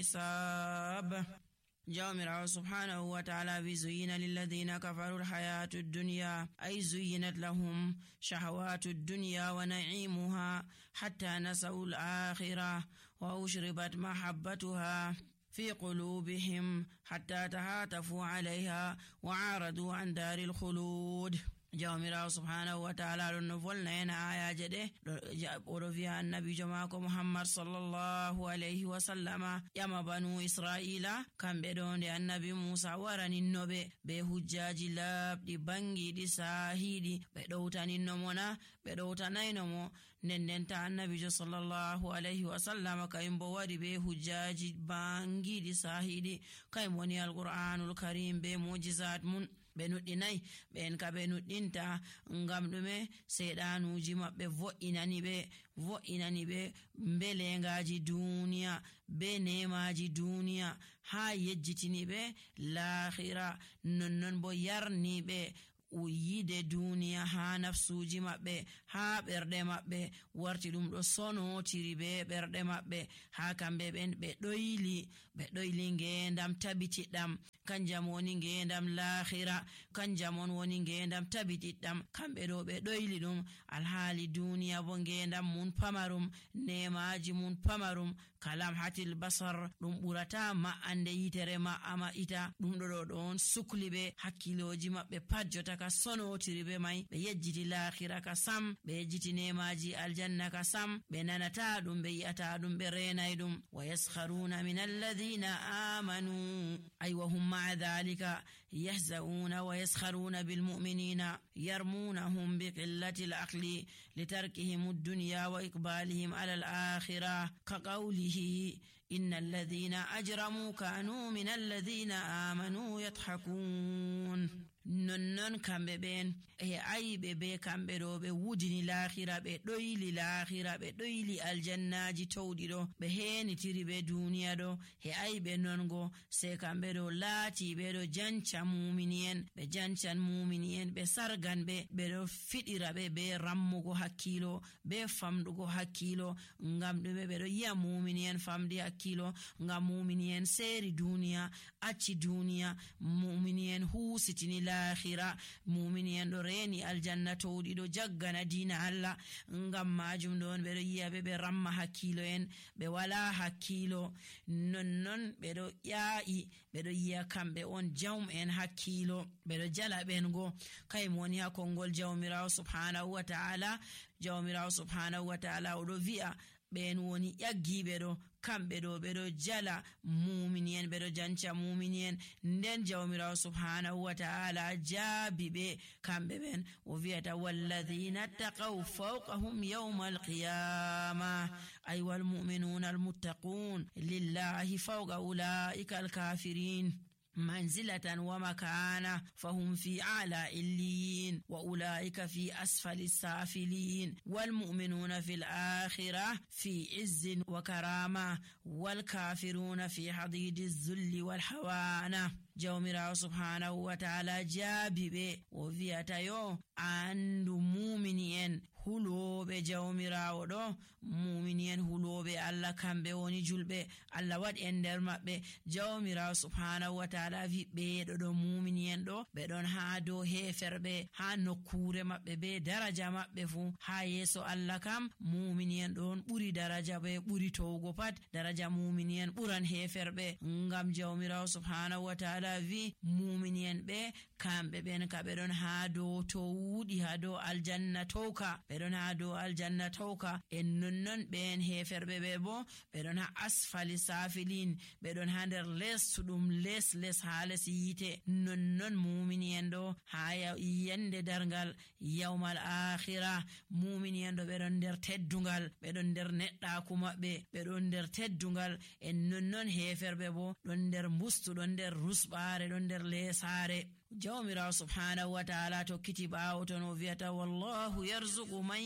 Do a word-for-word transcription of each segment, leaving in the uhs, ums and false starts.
حساب. جاء سبحانه وتعالى زين للذين كفروا الحياة الدنيا أي زينت لهم شهوات الدنيا ونعيمها حتى نسوا الآخرة وأشربت محبتها في قلوبهم حتى تهاتفوا عليها وعارضوا عن دار الخلود. جاء سبحانه وتعالى لنفلنا هنا آية جده ورفيها النبي جماعة محمد صلى الله عليه وسلم يما بنو إسرائيل كان بدون دي النبي موسى ورن النبي بهجاج لاب دي بانجي دي ساهيدي بدوتان النمونا بدوتان النمو نننتا النبي صلى الله عليه وسلم كاين بوادي بهجاج بانجي دي ساهيدي كاين وني القرآن الكريم بموجزات من benudinai ben ka benudinta ngam dume sedanuji mabbe vo'inani be vo'inani be mbelengaji duniya be nemaji duniya ha yejjitini be l'akhirah nonnon bo yarni be uyide duniya ha nafsuji mabbe ha berde mabbe warti dum do sono tiri be berde mabbe ha kambe ben be doyli be doyli ngendam tabitidam kanjam woni ngendam l'akhirah kanjam woni ngendam tabitidam kambe do be doyli dum alhali duniya bo ngendam mun pamarum nemaji mun pamarum kalam hatil basar dum burata ma ande yitere ma ama ita dum do don sukli be hakkiloji mabbe pajjota ka sono tiribe mai be yejjiti l'akhirah ka sam be yejjiti nemaji aljanna ka sam be nanata dum be yata dum be renay dum wa yaskharuna min alladhina amanu ay wa hum ma'a dhalika yahzauna wa yaskharuna bil mu'minina yarmunahum bi qillati al aqli litarkihim ad-dunya wa iqbalihim ala al akhirah ka qawlihi innal ladhina ajramu kanu min alladhina amanu yadhhakun. nonnon kambe ben e aybe be kambe do be wudini l'akhirah be doyli l'akhirah be doyli aljannaji tawdi do be heni tiri be duniya do e aybe nongo se kambe do laati be do jancha mu'minien be janchan mu'minien be sargan be be do fidira be be rammugo hakkilo be famdugo hakkilo ngam dum be do yi'a mu'minien famdi hakkilo ngam mu'minien seri duniya acci duniya mu'minien husitini l'akhirah mu'minien do reni aljanna tawdi do jaggana dina Allah ngam majum don be do yi'a be be ramma hakkilo en be wala hakkilo nonnon be do ya'i be do yi'a kambe on jawm en hakkilo be do jala ben go kay moni ha kongol jawmirawo subhanahu wa ta'ala jawmirawo subhanahu wa ta'ala o do wi'a ben woni yaggibe do kambe do be do jala mu'minien be do jancha mu'minien nden jawmirawo subhanahu wa ta'ala jabibe kambe ben o viata walladhina taqaw fawqahum yawm al-qiyamah ay wal mu'minuna al-muttaqun lillahi fawqa ulaika al-kafirin منزلة ومكانة فهم في أعلى إليين وأولئك في أسفل السافلين والمؤمنون في الآخرة في عز وكرامة والكافرون في حضيض الذل والحوانة. jawmirawo subhanahu wa ta'ala jabibe o viata yo andu mu'mini en hulobe jawmirawo do mu'mini en hulobe Allah kambe woni julbe Allah wad en der mabbe jawmirawo subhanahu wa ta'ala vi be do do mu'mini en do be don ha do heferbe ha nokkure mabbe be daraja mabbe fu ha yeso Allah kam mu'mini en don buri daraja be buri towgo pat daraja mu'mini en buran heferbe ngam jawmirawo subhanahu wa ta'ala vi mu'minien be kambe ben ka be don ha do to wudi ha do aljanna toka be don ha do aljanna toka en nonnon ben heferbe be bo be don ha asfali safilin be don ha der les tudum les les hales yite nonnon mu'minien do ha yende dargal yawmal akhirah mu'minien do be don der teddungal be don der nedda kuma be be don der teddungal en nonnon heferbe bo don der mustu don der rusba don der lesare. jawmirawo subhanahu wa ta'ala to kitiba otono viata wallahu yarzuqu man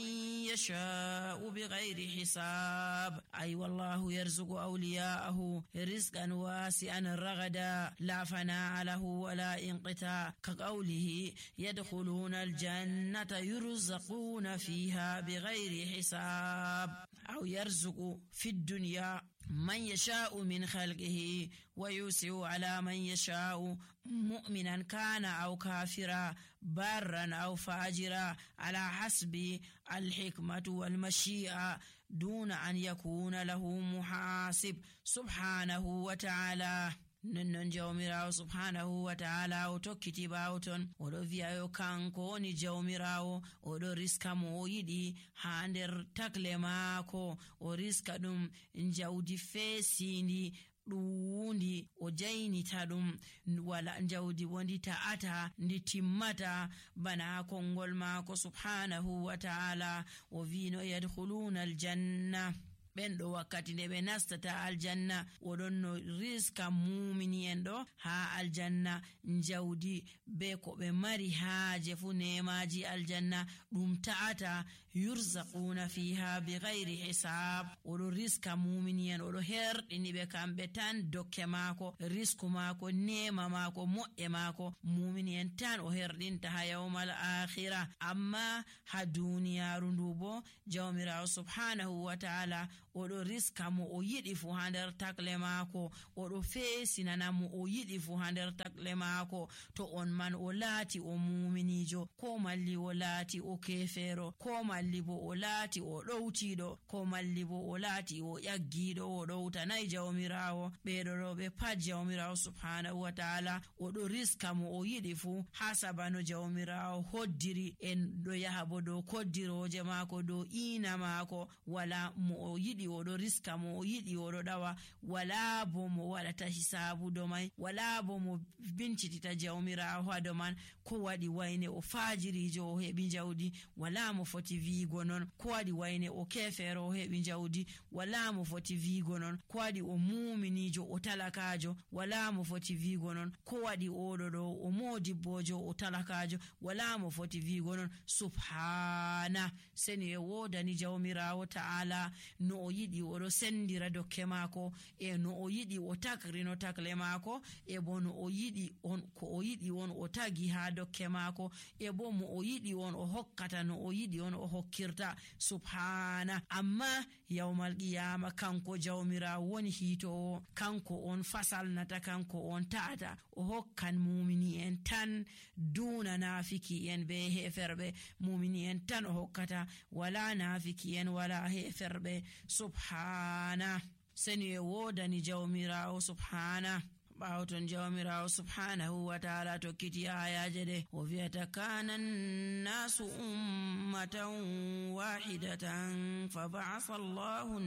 yasha'u bighayri hisab ay wallahu yarzuqu awliya'ahu rizqan wasi'an ragada la fana'a lahu wa la inqita ka qawlihi yadkhuluna aljannata yurzaquna fiha bighayri hisab aw yarzuqu fid dunya من يشاء من خلقه ويوسع على من يشاء مؤمنا كان أو كافرا بارا أو فاجرا على حسب الحكمة والمشيئة دون أن يكون له محاسب سبحانه وتعالى. nonnon jawmirawo subhanahu wa ta'ala o tokkiti ɓawo ton oɗo wi'ayo kanko woni jawmirawo oɗo riska mo o yiɗi ha nder takle maako o riska ɗum jawdi feesindi ɗuundi o jaynita ɗum wala jawdi wondi ta'ata ndi timmata bana kongol maako subhanahu wa ta'ala o wino yadkhuluna aljanna ɓen ɗo wakkati nde ɓe nastata aljanna oɗon no riska mumini en ɗo ha aljanna jawdi be ko ɓe mari haaje fu nemaji aljanna ɗum ta'ata yurzaquna fiha bighairi hisab oɗo riska mumini en oɗo herɗini ɓe kamɓe tan dokke maako risku maako nema maako moƴƴe maako mumini en tan o herɗinta ha yawmal akhira. amma ha duniyaru ndu bo jawmirawo subhanahu wa ta'ala oɗo riska mo o yiɗi fu ha nder takle maako oɗo feesinana mo o yiɗi fu ha nder takle maako to on man o laati o muminijo ko malli o laati o kefero ko malli bo o laati o ɗowtiɗo ko malli bo o laati o ƴaggiɗo o ɗowtanayi jawmirawo ɓeɗo ɗo ɓe pat jawmirawo subhanahu wa ta'ala oɗo riska mo o yiɗi fu ha sabano jawmirawo hoddiri en ɗo yaha bo dow koddiroje maako dow ina maako wala mo o yiɗi oɗo riska mo o yiɗi oɗo ɗawa wala bo mo waɗata hisabu do mai wala bo mo bincitita jawmirawo ha do man ko waɗi wayne o fajirijo o heɓi jawdi wala mo foti wiigo non ko waɗi wayne o kefero o heɓi jawdi wala mo foti wiigo non ko waɗi o muminijo o talakajo wala mo foti wiigo non ko waɗi oɗo ɗo o modibbojo o talakajo wala mo foti wiigo non subhana seni e wodani jawmirawo ta'ala no o yiɗi oɗo sendira dokke maako e no o yiɗi o takrino takle maako e bo no o yiɗi on ko o yiɗi on o tagi ha dokke maako e bo mo o yiɗi on o hokkata no o yiɗi on o hokkirta subhana. amma yawmal qiyama kanko jawmirawo woni hiitowo kanko on fasalnata kanko on ta'ata o hokkan mumini en tan duna nafiki en be heferɓe mumini en tan o hokkata wala nafiki en wala heferɓe subhana seni e wodani jawmirawo subhana. ɓawo ton jawmirawo subhanahu wa ta'ala tokkiti ayaje ɗe o wi'ata kana nnasu ummatan wahidatan fa ba'atha Allahu